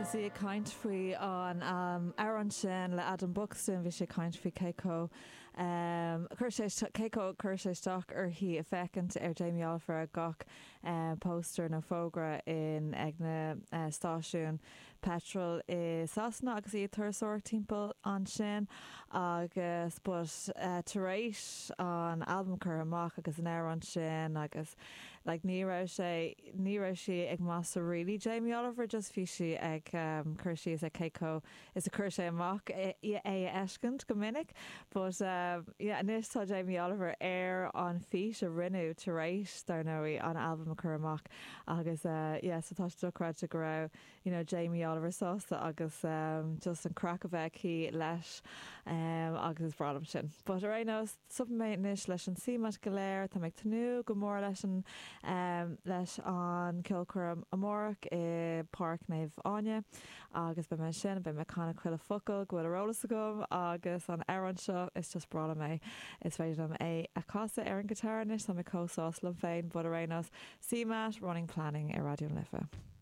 Agus í ag caint faoi an amhrán sin le Adam Buxton, bhí sí ag caint faoi cé chomh chuir sé cé chomh chuir sé isteach uirthi a féachaint ar Jamie Oliver ar gach póstaer nó fógra in ag na stáisiúin peitril i Sasana agus í ag turasóireacht timpeall ansin agus but tar éis an albam curtha amach agus an amhrán sin agus like ní raibh sé ní raibh sí ag masla really Jamie Oliver just bhí sí ag cur síos ar cé chomh is a chuir sé amach é a fheiscint go minic but yeah anois tá Jamie Oliver ar an fís a rinneadh tar éis dar ndóigh an albam a chur amach agus yeah so tá sé dochreidte go raibh you know Jamie Oliver sásta agus just an craic a bheith aici leis agus is breá liom sin. But ar aon nós, stopfaidh mé anois leis an CMAT go léir, tá mé ag tnúth go mór leis an leis an ceolchoirm amárach i Páirc Naomh Áine agus beidh mé ansin, beidh mé ag canadh chuile focal go bhfuil ar eolas agam agus an amhrán seo, is just breá liom é, is féidir liom é a chasadh ar an guitar anois, tá mé chomh sásta liom féin, but ar aon nós, CMAT, Running Planning ar Raidió na Life.